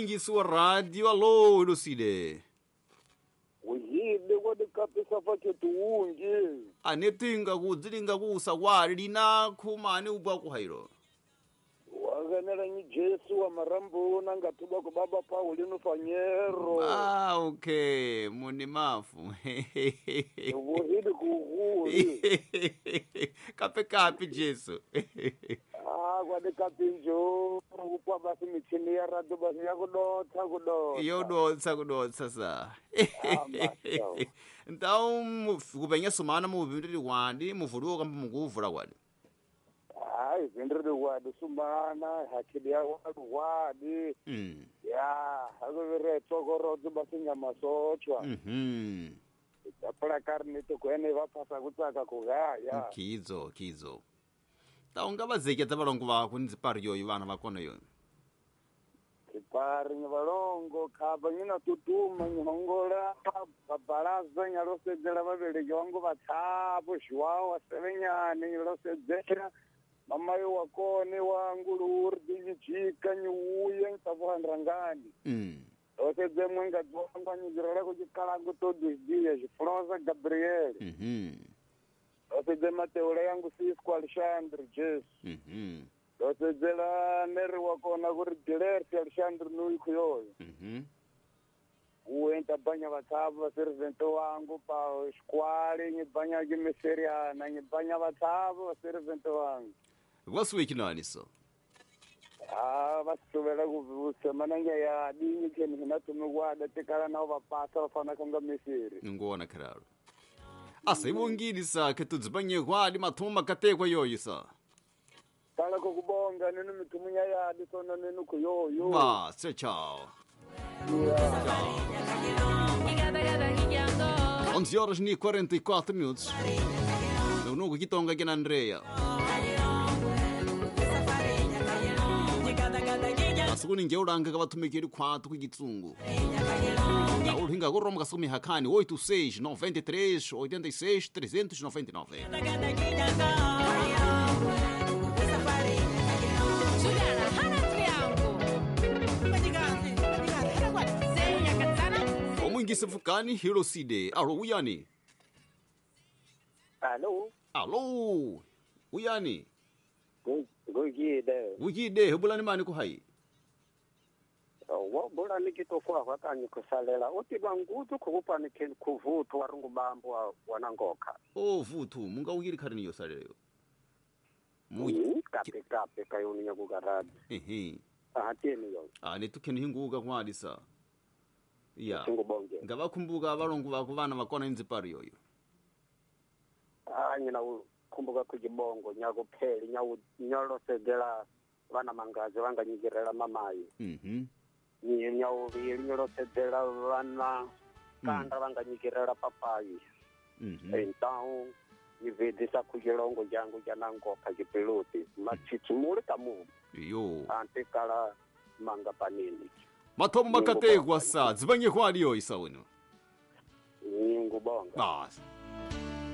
Mwingisi wa radio alo Lucide. Uyide kwadi kapisa faketu ungi. Anetinga kudzilinga kusa kwali lina khumani ubwa kuhairo. Waganela ni Jesu wa marambo nangatuba ko baba Paulino Fanyero. Ah, okay, muni mafu. Uyide kuhuri. Kape kape Jesu. Ah, kwadi kapinjo kupwa basi michini ya radio basi yakudotsa kudotsa. Yodotsa kudotsa sa. Ah, master. Então kupenya sumana muvindiri wandi muvuliwo kamba mukuvula kwadi. Hayi vindiri wadi sumana hakhidi ya wadi wadi. Ya, akuvire tsokorodzo basi nyama sochwa. Tapula karne to kwene vaphasa kutsaka kugaya. Kizo kizo. Taunga vazeketsa valongo vako ni dzipari yoyo vana vakona yoyo. Dzipari ni valongo khaba nyina tutuma nyihongola babalaza nyalosedzela vaveleki vangu vatshapo João wa Sevenyane nyalosedzela mamayo wa kone wa nguluri nyijika nyiuya ntavuhanrangani. Losedze mwenga dzwangwa nyizirela kuchikalangu todos dias Flosa Gabriel. Losedze Mateula yangu Cisco Alexandre Jesu. Losedzela neri wakona kuri Dilerti Alexandre nuikhuyoyo. Uenta banya vatshapo vaservente wangu pa xikwali nyibanya kimiseriana nyibanya vatshapo vaservente wangu. Wasuwikinani so? Ah, vasuvela kusemananga ya dinyi keni hinatumigwada tikala nao vapasa vafana kanga misiri. Ngona kararo. Asa ibungiri sa ketudzibanye kwadi mathumo makatekwa yoyo sa. Kala kokubonga ninu mitumunya yadi sona ninu kuyoyo. Ba, tchau. Tchau. 11 horas e 44 minutos. Eu nunca quitonga aqui na Andrea. Asukuni ngeulanga kavatumikiri khwatu kukitsungu. Ulinga kuromka sumi hakani 86 93 86 399. Omwingisi fukani Hiroside. Alo uyani? Alo. Alo. Uyani? Gugide. Gugide hebulani mani kuhai? Wabula nikitokwa kwakanyi kusalela uti bangutu kukupani kuvutu warungu bambu wanangoka. Oh vutu munga ukiri kharini yosaleleyo. Kape kape kayoni nyakugaradi. Ehe. Ahateni yo. Ah netukheni hinguka kwalisa. Ya. Ngubonge. Ngabakhumbuka abalongo bako bana bakona inzipari yoyo. Ah nyina ukhumbuka kujibongo nyakupheli nyalosedzela vana mangazi vanganyikirela mamayi. Nyauvili nyalosedzela vana kanda vanganyikirela papayi. Então nivedisa kuchilongo jangu janangoka chipiluti matsitsimuli kamumu. Yo. Antikala manga panini. Mathomo makatekwa sa dzibanye kwaliyo isa wenu. Ngubonga. Bas.